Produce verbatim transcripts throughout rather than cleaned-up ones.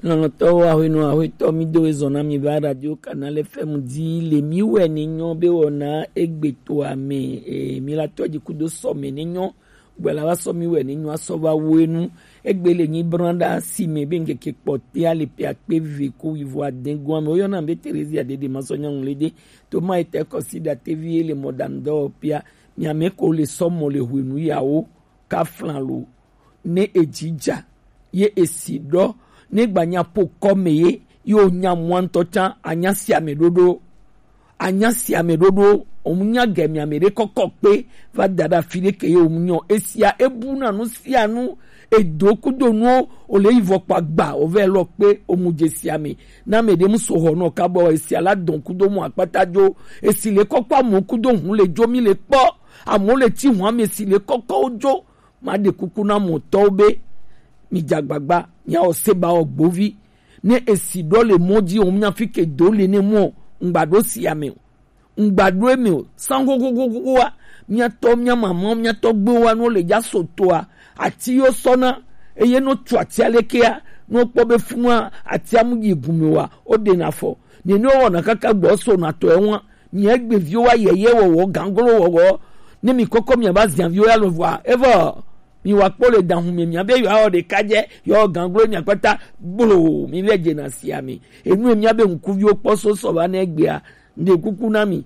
Lɔlɔ̃tɔwo, ahwenɔ ahwetɔ, mi do ezɔn na mi va Radio Canal F M di le mi wɛ ne nyɔ be wɔna egbe to ame, e, mi la tɔ di kudo sɔme ne nyɔ gbɛ la va sɔ mi wɛ ne nyɔ asɔ va wo enu. Egbe le nyi branda si me be ŋkeke kpɔtea le pe akpe ve ko wivo aden goa me. Woyɔna be Teresia Dede Masɔ Nyangu le de. To ma ete kɔsi da tevi le mɔdanu dɔ pia. Mi ame ko le sɔ mɔ le hwenu yawo ka flan lo. Ne ejija ye esi ɖɔ ne gbanya po kɔme ye yo nya mwa ŋutɔ tsã anya si ame ɖoɖo anya si ame ɖoɖo omu nya gɛ mi ame ɖe kɔkɔ kpe va da ɖe afi ɖe ke ye omu nyɔ esia ebu na nu sia nu edo kudo nuwo o le yi vɔ kpa gba o vɛ lɔ kpe omu dze sia me na me ɖe mu so hɔ nɔ kabɔ esia la dɔn kudo mu akpata dzo esi le kɔkɔ amu kudo hu le dzo mi le kpɔ amu le tsi hu ame si le kɔkɔ wo dzo. Maɖe kuku na mɔtɔwo be midze agbagba miawɔ seba wɔ gbovi ne esi ɖɔ le mɔ dzi wɔm nya fi ke do le ne mɔ ŋgba ɖo sia me o ŋgba ɖo eme o san xoxoxoxoa miatɔ mia mamawo miatɔ gbewo wa no le dza so toa ati yo sɔna eye no tu ati alekea no kpɔ be funua ati amu yi gume wa o ɖe na fɔ nene wɔna kaka gbɔ so na tɔ ewa Mia egbeviwo wa yeye wɔwɔ ganglo wɔwɔ. Ne mi kɔkɔ mia ba zianviwo ya lo vɔa. Evɔ mi wa kpɔ le dahun mi mia be yɔ awɔ ɖeka dze yɔ ganglo mia kpata gblo mi vɛ dze na sia mi. Enu mia be ŋkuviwo kpɔ so sɔ va ne egbea. Nde kuku na mi.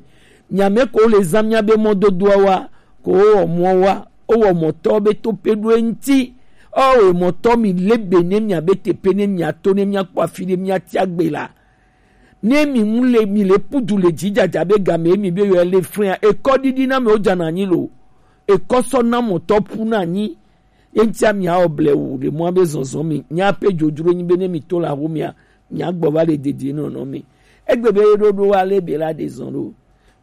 Mia me ko le zan mia be mɔdodoa wa ko wɔ mɔ wa. O wɔ mɔtɔ be to pe ɖo eŋti. O wɔ mɔtɔ mi le be ne mia be te pe ne mia to ne mia kpɔ afi ɖe mia tia gbe la. Ne mi mu le mi le pudu le dzidzadza be game mi be yɔ le fria ekɔ didi na me o dza na anyi lo ekɔ sɔ na mɔtɔ pu na anyi ye ŋtia mi awɔ blewu le mɔ be zɔzɔ mi nya pe dzodzro nyi be ne mi to la ho mia mia gbɔ va le dede nɔnɔ mi egbe be ɖoɖo wa le be la de zɔn ɖo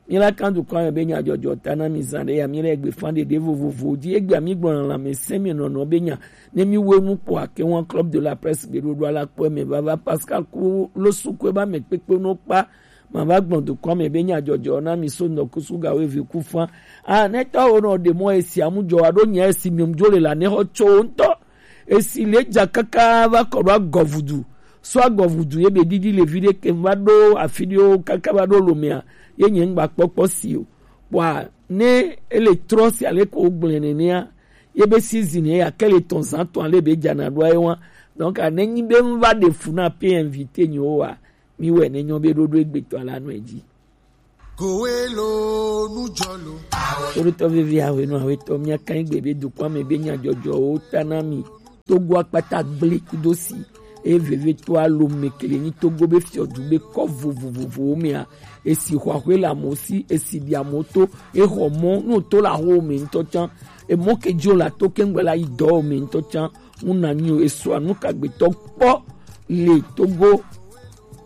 mi la kan dukɔ ame be nya dzɔdzɔ ta na mi zan ɖe ya mi le egbe fan ɖeɖe vovovo dzi egbe mi gbɔ na lãmesẽ mi nɔnɔ be nya Ne mi we nu kpɔ ake wan club de la presse be ɖoɖo ala kpɔ me vava Pascal ku lo su ko ba me kpekpe no kpa ma va gbɔn dukɔ me be nya dzɔdzɔ na mi so ndɔ kusu ga we vi ku fa a ne tɔ wo no de mo esi amu jɔ wa do nya esi mi mu jo le la ne ho cho nto esi le ja kaka va kɔ do agɔvudu so agɔvudu ye be didi le vi de ke va do afi de o kaka va do lo me a ye nye ngba kpɔkpɔ si o wa ne ele trɔ si ale ko gblẽ nenea ye be season ye ake le tɔn zan tɔn ale be dzana ɖo aye wa donc ne nyi be ŋva ɖe fu na pe invité nyi wo wa mi wɛ ne nyɔ be ɖoɖo egbetɔ la nɔ edzi. Kowe lo nu dzɔ lo. Toɖotɔ vevi awe nɔ awe tɔ mia kan gbe be dukɔ me be nya dzɔdzɔwo ta na mi. Togo akpata gble kudo si eye vevetɔ alo mekele nyi Togo be fiɔdu be kɔ vovovovowo mea esi xɔ axwe le amewo si esi ɖi amewo to exɔ mɔ ne wòto le aho me ŋutɔ tsã emɔ ke dzi wòle ato keŋgbe la yi dɔ me ŋutɔ tsã ŋu na nyi o esua nu kagbetɔ kpɔ le Togo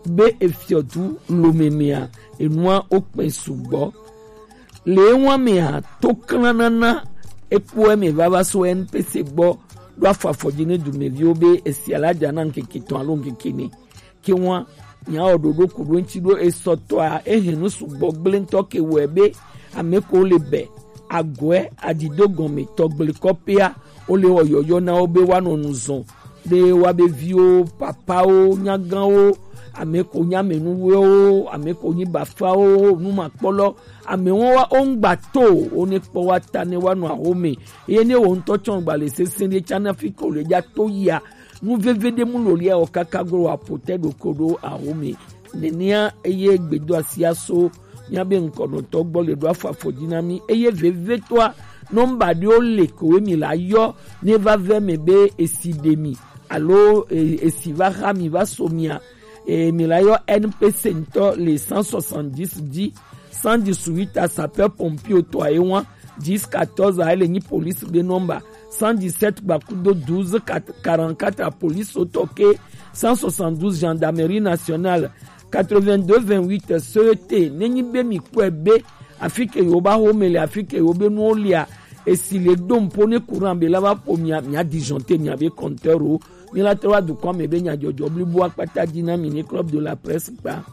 be efiɔdu lomemea enua wokpɛ sugbɔ. Le ewa mea, to klanana ekpo eme vava so N P C gbɔ ɖo afɔ afɔ dzi ne dumeviwo be esia la dza na ŋkeke etɔ̃ alo ŋkeke ene. Ke wa miawɔ ɖoɖo ku ɖo ŋuti ɖo esɔtɔa ehe nu sugbɔ gblẽ ŋutɔ ke wɔe be ame ko le be agɔe adido gɔme tɔgble kɔpea wole wɔ yɔyɔ na wo be woanɔ nu zɔn ɖe woabe viwo, papawo, nyagãwo, ame ko nyi amenuwɛwo, ame ko nyi bafawo, numakpɔlɔ, amewo wa wo ŋgba to o, wo ne kpɔ wa ta ne wa nɔ ahome. Eye ne wo ŋutɔ tsɔ gba le sese ɖe tsa na fi ko le dza to yia, nu veve ɖe mu lo lia o kaka glo wa pote ɖo ko ɖo ahome. Nenea eye gbedo asia so míabe ŋkɔnɔtɔ gbɔ le ɖo afɔ afɔ dzi na mí eye vevietɔa nɔmba ɖewo le kowe mi la yɔ ne va vɛ me be esi ɖe mi alo e, esi va xa mi va so mia e, mi la yɔ N P C ŋutɔ le cent soixante-dix dzi cent dix-huit a sapeur pompier tɔ aye wa dix quatorze a ele nyi police be nɔmba cent dix-sept gbakudo douze quarante-quatre a police tɔ ke cent soixante-douze gendarmerie nationale quatre-vingt-deux vingt-huit C E T ne nyi be mi kpɔe be afi ke yewo ba xome le afi ke yewo be nuwo lia esi le do ŋpo ne courant be la va ƒo mia mia disjoncter mia be compteur wo mi la trɔ va dukɔ me be nyadzɔdzɔ blibo akpata dzi na mi ne club de la presse kpa.